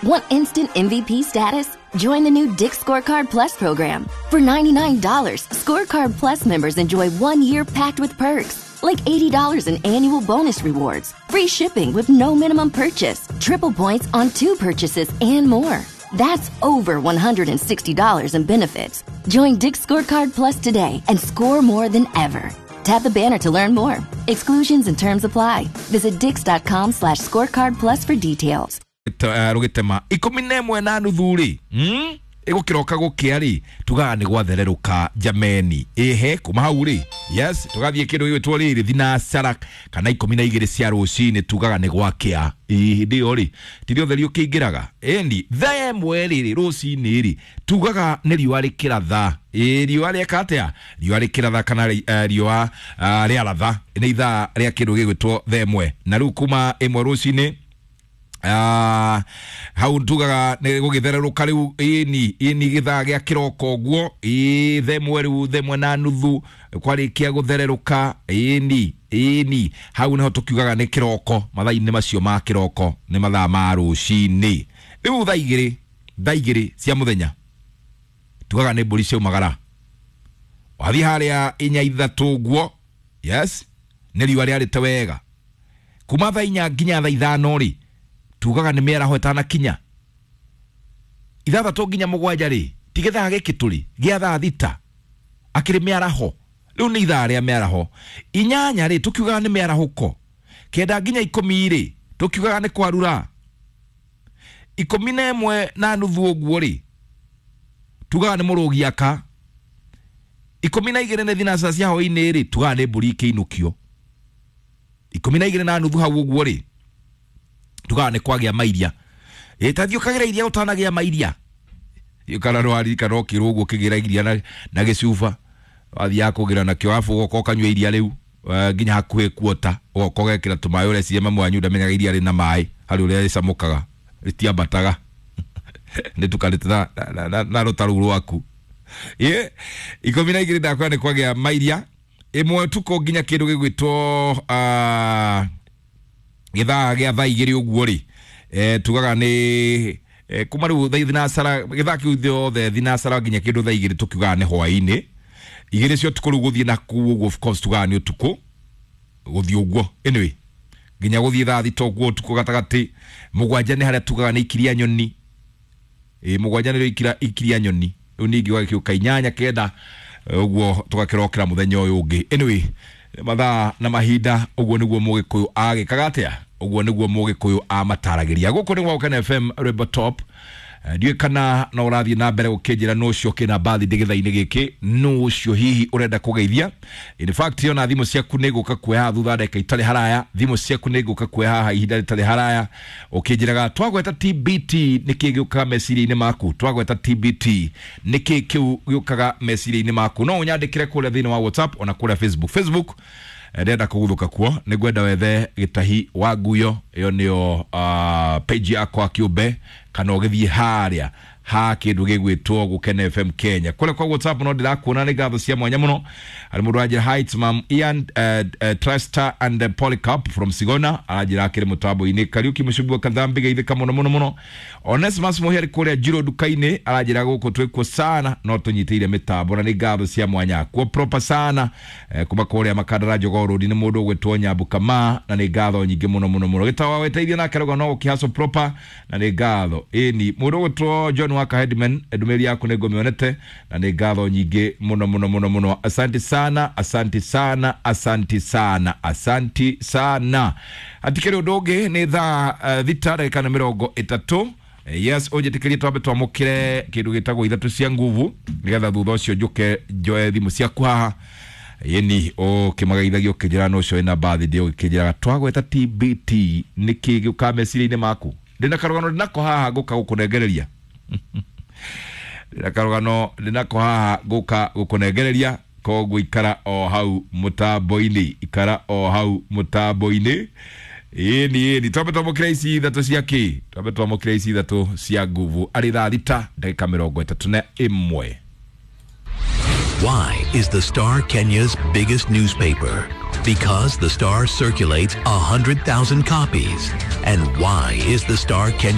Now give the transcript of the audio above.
Want instant MVP status? Join the new Dick's Scorecard Plus program. For $99, Scorecard Plus members enjoy 1 year packed with perks, like $80 in annual bonus rewards, free shipping with no minimum purchase, triple points on two purchases, and more. That's over $160 in benefits. Join Dick's Scorecard Plus today and score more than ever. Tap the banner to learn more. Exclusions and terms apply. Visit dicks.com/scorecard plus for details. Rũgĩtema 11:30 rĩ, Ĩgũkĩroka gũkĩa rĩ, tugaga nĩ gwathererũka jameni. Ĩhe kuma hau rĩ, yes, tũgathiĩ kĩndũ gĩgwĩtwo rĩrĩ thinacara kana 12 cia rũcinĩ, tugaga nĩ gwakĩa. Ĩ hĩndĩ ĩyo rĩ, ti ũtheri ũkĩingĩraga ĩni thaa 1 rĩrĩ rũcinĩ rĩ, tugaga nĩ riũa rĩkĩratha. Ĩ riũa rĩeka atĩa? Riũa rĩkĩratha kana riũa rĩaratha nĩ ithaa rĩa kĩndũ gĩgwĩtwo thaa 1. Na rĩu kuma 1 rũcinĩ, hau tugaga nĩ gũgĩthererũka rĩu. Ĩni ĩni gĩthaa gĩa kĩroko ũguo, ĩ thaa 1 rĩu, thaa 1:30 kwarĩkia gũthererũka. Ĩni ĩni hau nĩho tũkiugaga nĩ kĩroko. Mathaa-inĩ macio ma kĩroko nĩ mathaa ma rũcinĩ. Rĩu thaa 2, thaa 2 cia mũthenya, tugaga nĩ mbũri ciaumagara. Wathiĩ harĩa 4, 3 ũguo, yes, nĩ riũa rĩarĩte wega. Kuma thaa 4 nginya thaa 5 rĩ, tugaga nĩ mĩaraho ĩtanakinya. 6 nginya 7 rĩ, ti gĩthaa gĩkĩ tũrĩ gĩa thaa 6, akĩrĩ mĩaraho. Rĩu nĩ ithaa rĩa mĩaraho. 8 rĩ, tũkiugaga nĩ mĩarahũko. 9 nginya 10 rĩ, tũkiugaga nĩ kwarura. 11:30 ũguo rĩ, tugaga nĩ mũrũgi aka. 12 nĩ thinacara cia hwaĩ-inĩ rĩ, tugaga nĩ mbũri ikĩinũkio. 12:30 hau ũguo rĩ, tugaga nĩ kwagĩa mairia. Ĩ ta thiĩ ũkagĩra iria ũtanagĩa mairia, kana nĩwaririkana ũkĩrwo ũguo ũkĩgĩra iria na gĩcuba, wathiaga kũgĩra nakĩo, arabu ũgoka ũkanyua iria rĩu nginya hakuhĩ kuota, ũgoka ũgekĩra tũmaĩ. Ũreciria mamu wanyu ndamenyaga iria rĩna maĩ, harĩ ũrĩa rĩcamũkaga rĩtiambataga nĩtukanĩte na rũta rũu rwaku. Ĩ 12 ndakwĩra nĩ kwagĩa mairia. 1 ũtukũ nginya kĩndũ gĩgwĩtwo gĩthaa gĩa thaa 2 ũguo rĩ, tugaga nĩ kuma rĩu thaa thinacara, gĩthaa kĩu gĩothe thinacara nginya kĩndũ thaa 2, tũkiugaga nĩ hwaĩ-inĩ. 2 cia ũtukũ rĩu gũthiĩ na kuu ũguo, of course, tugaga nĩ ũtukũ gũthiĩ ũguo. Anyway, nginya gũthiĩ thaa 6 ũguo ũtukũ gatagatĩ, 7 nĩ harĩa tugaga nĩ ikiria nyoni. Ĩ 7 nĩrĩo ikiria nyoni. Rĩu ningĩ ũgagĩũka 8, 9 ũguo, tũgakĩrokera mũthenya ũyũ ũngĩ. Anyway, mathaa na mahinda ũguo nĩguo mũgĩkũyũ agĩkaga atĩa, ũguo nĩguo mũgĩkũyũ amataragĩria. Gũkũ nĩ gwa FM Rwĩmbo Top. Ndiũĩ kana no ũrathiĩ na mbere gũkĩnjĩra nũ ũcio kĩna birthday gĩthaa-inĩ gĩkĩ, nũ ũcio hihi ũrenda kũgeithia. In fact, ona thimũ ciaku nĩ ngũka kuoya haha thutha ndagĩka itarĩ haraya. Thimũ ciaku nĩ ngũka kuoya haha ihinda rĩtarĩ haraya, ũkĩnjĩraga twagweta TBT nĩkĩ gĩũkaga meciria-inĩ maku. Twagweta TBT nĩkĩ kĩu gĩũkaga meciria-inĩ maku? No ũnyandĩkĩre kũrĩa thĩinĩ wa WhatsApp ona kũrĩa Facebook. Facebook ndĩrenda kũguthũka kuo, nĩ ngwenda wethe Gĩtahi wa Nguyo, ĩyo nĩyo page yakwa kĩũmbe, kana ũgĩthiĩ harĩa ha kĩndũ gĩgwĩtwo Gũkena FM Kenya kũrĩa kwa WhatsApp. No ndĩrakuona, nĩ ngatho cia mwanya mũno. Harĩ mũndũ aranjĩra, "Hi, it's Mam Ian Trester and Polycarp from Sigona." Aranjĩra akĩrĩ mũtambo-inĩ. Kariuki Mũcumbi wa Kathambi, geithĩka mũno mũno mũno. Onesmus Mũhĩa arĩ kũrĩa Njiro nduka-inĩ, aranjĩra gũkũ twĩkuo sana, no tũnyitĩire mĩtambo, na nĩ ngatho cia mwanya kuo proper sana. Kuma kũrĩa Makandara Jogoo Road nĩ mũndũ ũgwĩtwo Nyambu Kama, na nĩ ngatho nyingĩ mũno mũno mũno. Gĩtawa weteithio nake rauga no gũkĩhaco proper, na nĩ ngatho. Ĩni mũndũ ũgwĩtwo John Waka Headman, ndũmĩrĩri yaku nĩ ngũmĩonete, na nĩ ngatho nyingĩ mũno mũno mũno mũno. Asante sana, asante sana, asante sana, asante sana. Hatikĩrĩ ũndũ ũngĩ, nĩ thaa 6 ndagĩka na 30. Yes, ũnjĩtĩkĩrie twambe twamũkĩre kĩndũ gĩtagwo ithatũ cia nguvu, nĩgetha thutha ũcio njũke njoe thimũ ciaku haha yeni ũkĩmageithagia, ũkĩnjĩra no ũcio wĩna birthday, ũgĩkĩnjĩraga twagweta TBT nĩkĩ gĩũkaga meciria-inĩ maku. Ndĩna karũgano ndĩnako haha ngũka gũkũnengereria. Ndĩna karũgano ndĩnako haha ngũka gũkũnengereria, koguo ikara o hau mũtambo-inĩ, ikara o hau mũtambo-inĩ. Ĩni ĩni twambe twamũkĩre ici ithatũ cia kĩ, twambe twamũkĩre ici ithatũ cia nguvu arĩ thaa 6 ndagĩka 31. Why is the Star Kenya's biggest newspaper? Because the Star circulates 100,000 copies. And why is the Star Kenya